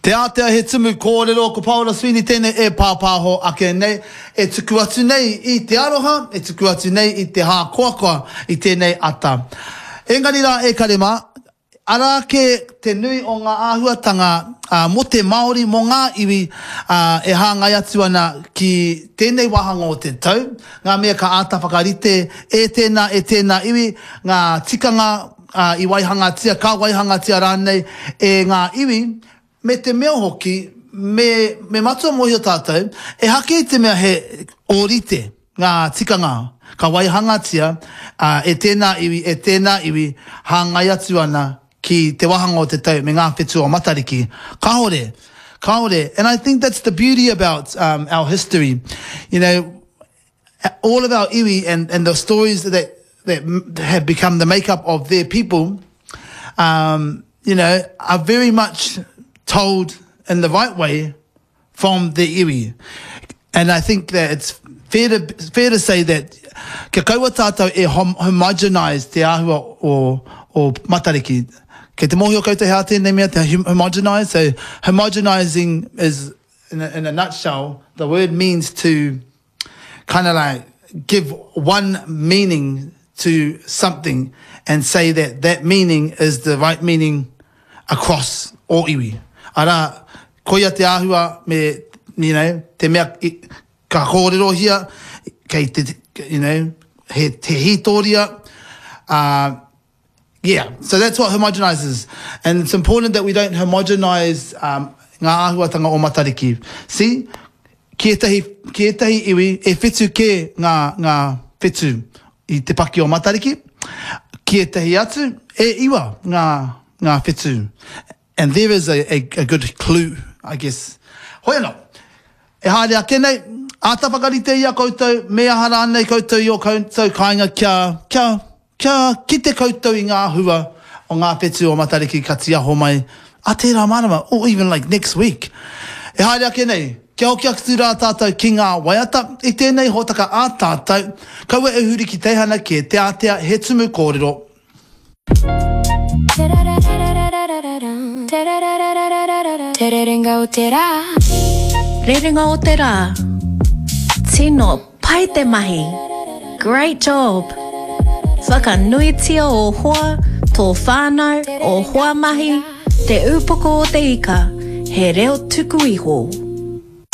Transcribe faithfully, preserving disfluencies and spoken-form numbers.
Te ātea he tumu kōrero ko Paora Sweeney tēnei e pāpāho ake nei, e tuku atu nei i te aroha, e tuku atu nei i te hākoakoa i tēnei ata. Engari rā e kare mā, arā kē te nui o ngā āhuatanga uh, mō te Māori, mō ngā iwi uh, e hāngai atu ana ki tēnei wāhanga o te tau, ngā mea ka āta whakarite e tēnā, e tēnā iwi, ngā tikanga uh, i waihangatia, ka waihangatia rānei e ngā iwi, me te mea hoki, me, me matua mōhio tātou, ehake i te mea he ōrite ngā tikanga ka waihangatia uh, e tēnā iwi, e tēnā iwi, hāngai atu ana ki te wāhanga o te tau me ngā whetū o Matariki. Kāore, kāore. And I think that's the beauty about um, our history. You know, all of our iwi and, and the stories that, that have become the makeup of their people, um, you know, are very much told in the right way from the iwi. And I think that it's fair to, fair to say that kia kaua tātou e hom homogenise te āhua o, o Matariki. Kei te mōhio koutou he aha tēnei mea te homogenise. So homogenizing is, in a, in a nutshell, the word means to kind of like give one meaning to something and say that that meaning is the right meaning across all iwi. Arā, koia te āhua me, you know, te mea ka kōrerohia, kei te, you know, he, te hītoria, uh, yeah, so that's what homogenizes. And it's important that we don't homogenize um, ngā āhuatanga o Matariki. See, ki ētahi, ki ētahi iwi, e whitu kē ngā, ngā whetū i te paki o Matariki, ki ētahi atu, e iwa ngā, ngā whetū. And there is a, a, a good clue, I guess. Hoi anō, e haere ake nei, āta whakarite i a koutou, me aha rānei koutou i o koutou kāinga kia, kia, kia kite koutou i ngā hua o ngā whetū o Matariki ka tiaho mai a tērā marama, or even like next week. E haere ake nei, kia hoki atu rā tātou ki ngā waiata, i tēnei hōtaka ā tātou, kaua e huri ki teihana kē, te ātea he tumu kōrero. Te rerenga o te rā. Rerenga o te rā. Tino pai te mahi. Great job. Whakanuitia ō hoa, tō whānau, ō hoa mahi, Te Upoko o te Ika, he reo tuku iho.